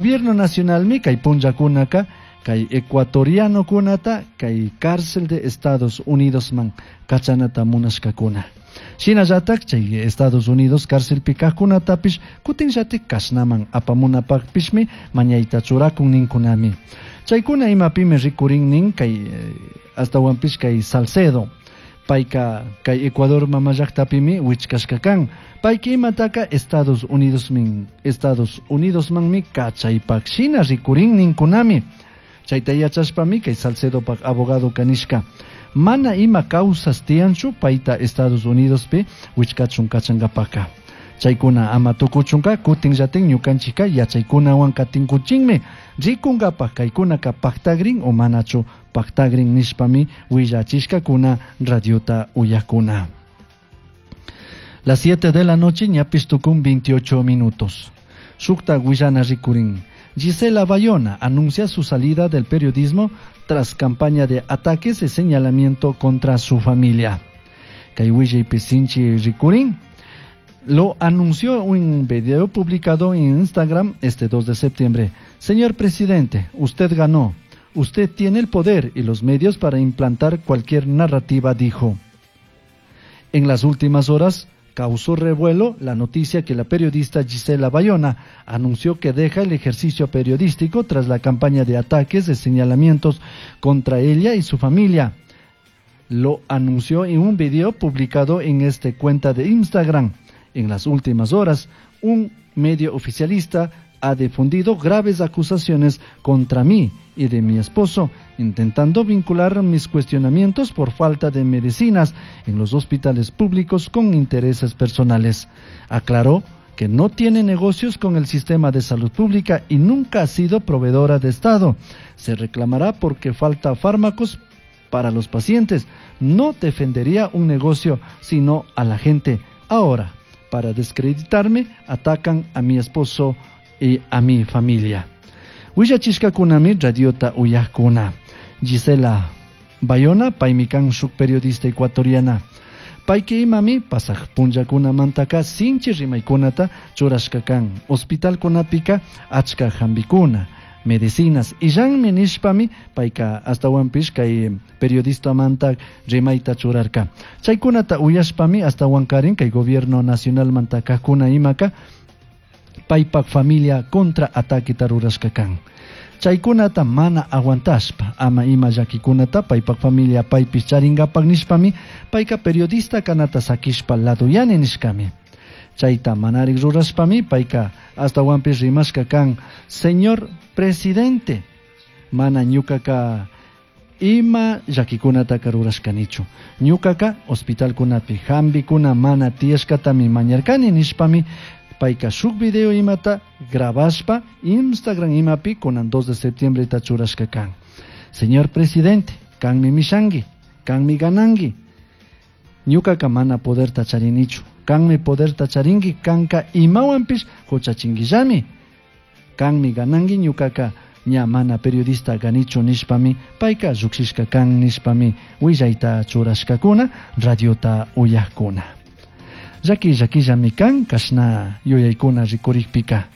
Gobierno nacionalmi kay punllakunaka kay ecuatorianokunata kay cárcel de Estados Unidosman kachanata munashkakuna. Shinallatak chay Estados Unidos cárcelpi kajkunatapish kutinllatik kashnaman apamunapakpishmi mañayta churakun ninkunami. Chaykuna imapimi rikurin nin kay astawanpish kay Salcedo. Payka kay Ecuador mama llaqtapimi wichkashka kan. Payka imataka Estados Unidos min Estados Unidosmanmi kachaypak shina rikurin ninkunami. Chayta yachashpami kay Salcedopak abogado kanishka. Mana ima causas tiyanchu payta Estados Unidospi wichkachun kachankapaka. Chaykuna ama tukuchunka kutinllatin ñukanchikka yachaykunawan katinkuchinmi rikunkapak kaykunaka paktagrin o manachu paktagrin nishpami willachishkakuna radiota uyakuna. Las 7 de la noche ñapis tukun 28 minutos. Shukta willana rikurin. Gisela Bayona anuncia su salida del periodismo tras campaña de ataques y señalamiento contra su familia. Kay willaypi sinchi rikurin. Lo anunció un video publicado en Instagram este 2 de septiembre. Señor presidente, usted ganó. Usted tiene el poder y los medios para implantar cualquier narrativa, dijo. En las últimas horas causó revuelo la noticia que la periodista Gisela Bayona anunció que deja el ejercicio periodístico tras la campaña de ataques de señalamientos contra ella y su familia. Lo anunció en un video publicado en esta cuenta de Instagram. En las últimas horas, un medio oficialista ha difundido graves acusaciones contra mí y de mi esposo, intentando vincular mis cuestionamientos por falta de medicinas en los hospitales públicos con intereses personales. Aclaró que no tiene negocios con el sistema de salud pública y nunca ha sido proveedora de Estado. Se reclamará porque falta fármacos para los pacientes. No defendería un negocio, sino a la gente. Ahora, para descreditarme, atacan a mi esposo y a mi familia. Willachishkakunami radiota uyajkuna. Gisela Bayona, paymi kan shuk periodista ecuatoriana. Payka imami pasaj punllakunamantaka sinchi rimaykunata churashka kan. Hospitalkunapika achka jambikuna, medicinas illanmi nishpami payka astawanpish kay periodistamanta rimayta churarka. Chaykunata uyashpami astawankarin kay gobierno nacionalmanta kajkuna imaka paypak familia contra ataqueta rurashka kan. Chaykunata mana aguantashpa ama ima llakikunata paypak familia paypish charinkapak nishpami payka periodista kanata sakishpa laduyani nishkami. Chayta manarik rurashpami payka astawanpish rimashka kan: Señor presidente, mana ñukaka ima llakikunataka rurashkanichu. Ñukaka hospitalkunapi jambikuna mana tiyashkatami mañarkani nishpami payka shuk video imata grabashpa Instagram imapi kunan 2 de septiembre ta churashka kan. Señor presidente, kanmi mishangi, kanmi ganangi. Ñukaka mana poderta charinichu. Kanmi poderta charingi, kanka imawanpish huchachinguillami. Kanmi ganangi, ñukaka ña mana periodista ganichu nishpami payka llukshishka kan nishpami willayta churashkakuna radiota uyajkuna. Llaki llakillami kan kashna yuyaykuna rikurikpika.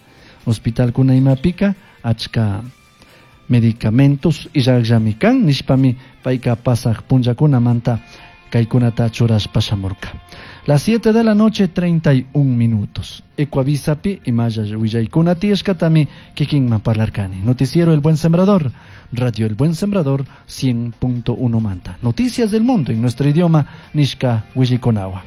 Hospitalkuna imapika achka medicamentos illakllami kan nishpami payka pasaj punllakunamanta kaykunata churashpa shamurka. Las 7 de la noche, 31 minutos. Ecuavisapi imalla willaykuna tiyashkatami kikinman parlarkani. Noticiero El Buen Sembrador, Radio El Buen Sembrador 100.1 Manta. Noticias del mundo en nuestro idioma, nishka willaykunawan.